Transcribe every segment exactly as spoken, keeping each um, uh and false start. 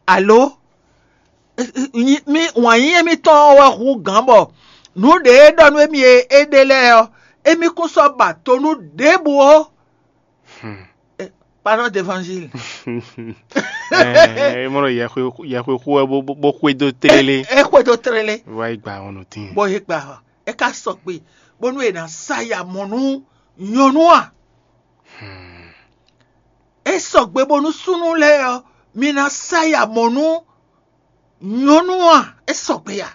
Alo, mi wǎn yíyí émítɔn ɔ́ wɛ hú gǎn bɔ nǔ ɖě e ɖɔ nú émí e é ɖe lɛ́ɛ ɔ́, émí kún sɔ́ ba to nú ɖěbǔ ó. Pardon d'évangile. É mɔ ɖɔ yɛxwexu wɛ bó xwedó tlélé. É xwedó tlélé. Wá yi gba ɔnɔ tín. Bó yí gba ɔ́, é ka sɔgbe bónú è nǎ sa ya mɔ nú nyɔ̌nu a? É sɔgbe bónú súnnu lɛ́ɛ ɔ́, mi ná sa ya mɔ nú nyɔ̌nu a? É sɔgbe a?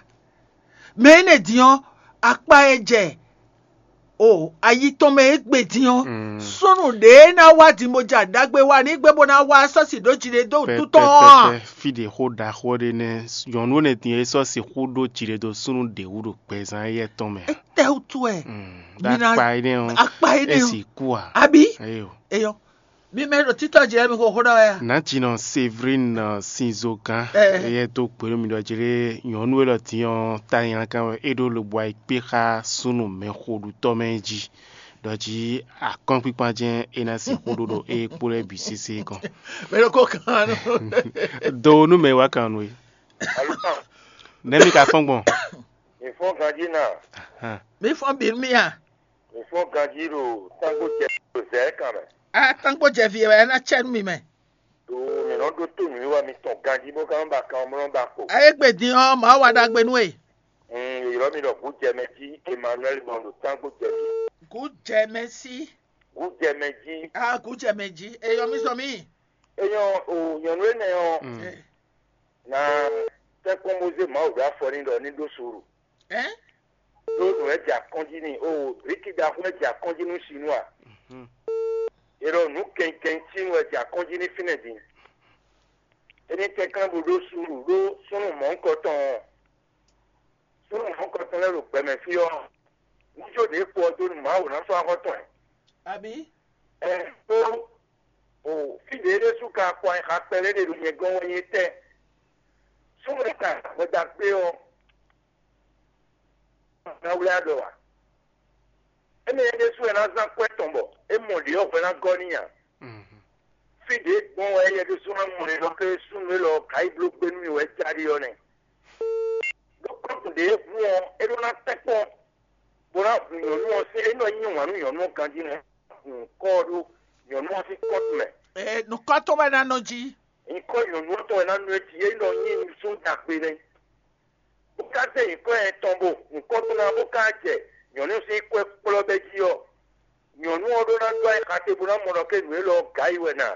Mɛ énɛ́ din ɔ́, akpa e jɛ o ayi tɔn mɛ é gbe din ɔ́, súnnu ɖě ná wá din bó ja ɖagbe wá ní gbé bó ná wá sɔ́si ɖó jiɖe dó wútu tɔn ɔ́ a? Fí ɖě xó ɖaxó ɖé nɛ́ nyɔ̌nu énɛ́ din e sɔ́ sixú ɖó jiɖe dó súnnu ɖě wú ɖo gbɛzán éyɛ́ tɔn mɛ a? Tɛ́ wútu wɛ. Ɖo akpa énɛ́ ɔ́ akpa énɛ́ é ɔ́ si kú a? Àbí? Eyo. Eyɔ, mi mɛ ɖo títɔ jɛ mi xo xó ɖɔ wɛ a? Nǎjínɔ Séverine Sinzogán Ɛ. Éyɛ́ dó gbe nú mi ɖɔ jlé nyɔ̌nu élɔ́ din ɔ́ tanylankan wɛ é ɖó lobo ayikpé xá súnnu mɛxoɖutɔ́ mɛ jí ɖɔ jí akɔ́nkpíkpán jɛ́n é ná sixú ɖó ɖo é kpó lɛ́ɛ bǐ sésé gɔ́n. Mɛ ɖo ko kan nɔ. Do nú mɛ wá kan nú é. Nɛ́ mi ka fɔ́n gbɔn? Mi fɔ́n ganjí na. Hàn. Mi fɔn bi mi a? Mi fɔ́n ganjí ɖo tángbo jɛ ɖo zɛ̌ kan mɛ. A tangbo jɛ vi wɛ na tsɛ nú mi mɛ. Do mi nɔ ɖó tó nǔwiwa mitɔn ganjí bó ka nɔ ba kan mlɔ́ ba kpo. Ayé gbe din ɔ́, màá wa ɖagbe nú e. Ylɔ́ mi ɖɔ gǔ jɛ mɛ jí Emmanuel gbɔn ɖo tángbo jɛ jí. Gǔ jɛ mɛ sí. Gǔ jɛ mɛ jí. A gǔ jɛ mɛ jí. Eyɔ mi sɔ mi. Enyɔ o nyɔnu énɛ́ ɔ́ Mm. Ɛ. na tɛ́nkpɔ́n Mozé Mawu ɖo afɔ ní ɖɔ ní ɖó suúlu. Ɛ. Ɖó nǔ wɛ jɛ akɔ́njí n'i o blíkí ɖaxó wɛ jɛ akɔ́njí nú Sinúa. Mhm. È ɖɔ nǔ kɛnkɛn sín wɛ jɛ akɔ́njí ní fínɛ́ din. Éní kɛnklɛ́n bó ɖó súnnu ɖó súnnu mɔ̌hunkɔtɔn ɔ́, súnnu mɔ̌hunkɔtɔn lɛ́ɛ ɖo gbɛmɛ fí ɔ́, ní jó ɖě kpo ɔ́ dó nú Mawu ná sɔ́ axɔ́ tɔn ɛ. Àbí? Ɛ tó o fí ɖě ɖésú ka kɔ ayixa kpɛɖé ɖe ɖo nyɛ gɔ́n wɛ nyí tɛ́. Súnnu e ka gbɛdagbe ɔ́, ná wlɛ́ aɖɔ ǎ. Énɛ́ ɖésú wɛ ná zán kwɛ́ tɔn bɔ é mɔ ɖě ɔ́ hwɛ ná gɔ́ n'i ǎ. Mhm. Fí ɖě gbɔn wɛ éyɛ́ ɖésú ná mɔ ɖe ɖɔ ké súnnu élɔ́ ka yi bló gbé nú mì wɛ jáde ɔ́ nɛ́. Ɖó kɔ́ntu ɖě hu ɔ́, é ɖó ná tɛ́nkpɔ́n, bó ná hun nyɔ̌nu ɔ́ sín é nɔ yí wǎn nú nyɔ̌nu ɔ́ ganjí nɛ́. Hun kɔ́ ɔ́ ɖó nyɔ̌nu ɔ́ sín kɔ́ntu mɛ. Ɛ nukɔntɔn wɛ ná nɔ jí. Nyǐkɔ nyɔ̌nu ɔ́ tɔn wɛ ná nɔ é jí, é nɔ nyí nusúnnu ɖagbe nɛ́. Bó ka zé nyǐkɔ ɛ tɔn bo nyǐkɔ tɔn ná bó ka jɛ nyɔ̌nu sín kwɛ́ kplɔ́ bɛ́ jí ɔ́, nyɔ̌nu ɔ́ ɖó ná dó ayixa te bó ná mɔ ɖɔ ké nǔ élɔ́ ɔ́ gǎ yi wɛ ná.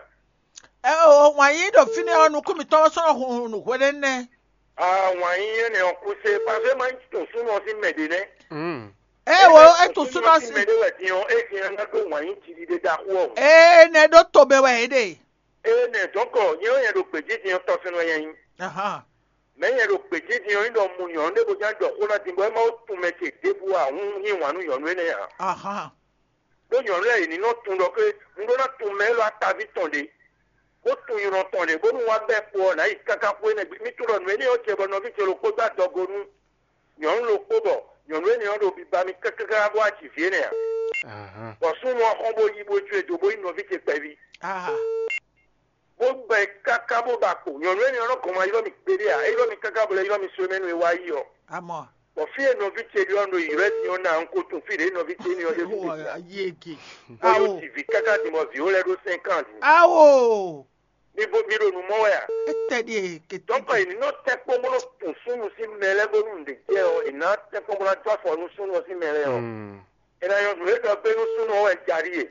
Ɛ o wǎn yí ɖo fínɛ́ ɔ́, nukún mǐtɔn ɔ́ sɔ́ nɔ hun nǔ hwɛɖé nɛ́. Awǎn yí énɛ́ ɔ́ kú sé, pàṣẹ má nyí tun súnnu ɔ́ sín mɛ ɖě nɛ́. Mm. Ɛ wo é tu súnɔ sí. Mɛ ɖé wɛ din ɔ́, é din ɔ́ ná ɖó wǎn yí jiɖiɖe ɖaxó ɔ́. Ee nɛ ɖó to mɛ wɛ é ɖe. Ée nɛ dɔ̌nkɔ nyɛ ɔ́ nyɛ ɖo gbějí din ɔ́ tɔ́ fínɛ́ wɛ nyɛ nyí. Ahán. Mɛ̌ nyɛ ɖo gbějí din ɔ́ nyí ɖɔ mu nyɔ̌nu ɖé bó ján ɖɔ xó ná din bɔ é má wó tun mɛ ce ɖěbǔ ǎ hún yí wǎn nú nyɔ̌nu énɛ́ ǎ. Ahán. Ɖó nyɔ̌nu lɛ́ɛ yě ní nɔ tunwun ɖɔ xwé un ɖó ná tunwun mɛ élɔ́ ataví tɔn ɖě, bó tunwun nylɔ́ tɔn ɖě, bónú wá bɛ́ kpo ɔ́ nǎ yi káká xwé nɛ́ gbe. Mi tunwun ɖɔ nǔ énɛ́ ɔ́ jɛ bɔ nɔví ce ɖokpó dó adɔgo nú nyɔ̌nu ɖokpó bɔ nyɔ̌nu énɛ́ ɔ́ ɖo biba mì kákáká bó wá ji vǐ énɛ́ ǎ. Ahán. Bɔ súnnu ɔ́ xɔ́n bó yí bó jó e dó bó nyí nɔví ce kpɛví. Aha. Bó gbɛ káká bó ba kpo. Nyɔ̌nu énɛ́ ɔ́ nɔ gɔn ma ylɔ́ mì kpéɖé ǎ. É ylɔ́ mì káká bɔ é ylɔ́ mì só mɛ nú é wá yi ɔ́. Amɔ. Bɔ fí e nɔví ce ɖi ɔ́ ɖo yi lɛ́ din ɔ́ ná un ko tunwun fí ɖě nɔví ce énɛ́ ɔ́ ɖe ɖu. Ayé eke. Bó yó Awo. Ji vǐ káká din bɔ vǐ ó lɛ́ ɖó sɛ́nkan din. Awo. Mi bo mi ɖo nǔ mɔ wɛ a? Etɛ ɖi e kete. Dɔ̌nkɔ è ní nɔ tɛ́nkpɔ́n bó nɔ tun súnnu sín mɛ lɛ́ɛ bónú nǔɖé jɛ ɔ́, è nǎ tɛ́nkpɔ́n bó ná dó afɔ nú súnnu ɔ́ sín mɛ lɛ́ɛ ɔ́. Mm. È nǎ nyɔ́ nǔ e ɖɔ gbé nú súnnu ɔ́ wɛ jaɖíe.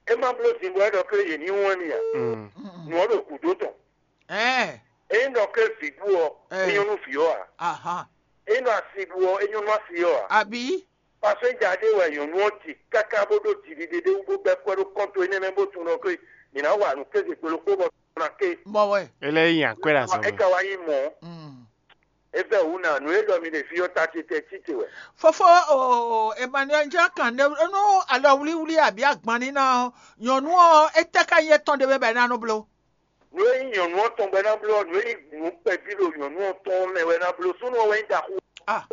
É má bló din bɔ é ɖɔ ké yě ní wɛn mi ǎ. Mm. Nǔ ɔ́ ɖo gǔdo tɔn. Ɛɛ. Ényí ɖɔ ké vǐ bú ɔ́, Ɛ. é nyɔ́ nú vǐ ɔ́ ǎ. Ahán. Ényí ɖɔ asi bú ɔ́, é nyɔ́ nú asi ɔ́ ǎ. Àbí. Pasɛnja ɖé wɛ nyɔ̌nu ɔ́ ji káká bó ɖó jiɖiɖe ɖé wú bó bɛ́ kwɛ́ ɖó kɔ́nto énɛ́ mɛ bó tunwun ɖɔ ké mǐ ná wa nǔ kéze gbe ɖokpó bɔ ná ké. Mɔ wɛ. É lɛ́ nyi akwɛ́ ɖo azɔn É mɛ. ka wá nyí mɔ̌. Mm. É vɛ wǔ ná nǔ e ɖɔ mi ɖe fí ɔ́ ta ce tɛ títè wɛ. Fofo o Emmanuel jẹ́ kàn ní nú alɔ wíwlí àbí àgbọn níná ɔ́, nyɔ̌nu ɔ́, étɛ́ ká nyí étɔn ɖé mɛ bɔ é ná nɔ bló? Nǔ e nyí nyɔ̌nu ɔ́ tɔn bɔ é ná bló ɔ́, nǔ e nyí nǔ kpɛví ɖo nyɔ̌nu ɔ́ tɔn mɛ wɛ é ná bló. Súnnu ɔ́ wɛ nyí ɖaxó. Ah,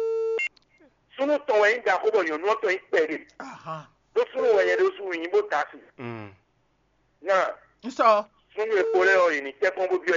Súnnu tɔn wɛ nyí ɖaxó bɔ nyɔ̌nu ɔ́ tɔn nyí kpɛɖé. ahan. Ɖó súnnu wɛ nyɛ ɖésú nyí bó da asi. Mm. Ná N sɔ. súnnu e kpo lɛ́ɛ ɔ́, yě ní tɛ́ kpɔ́n bó byɔ́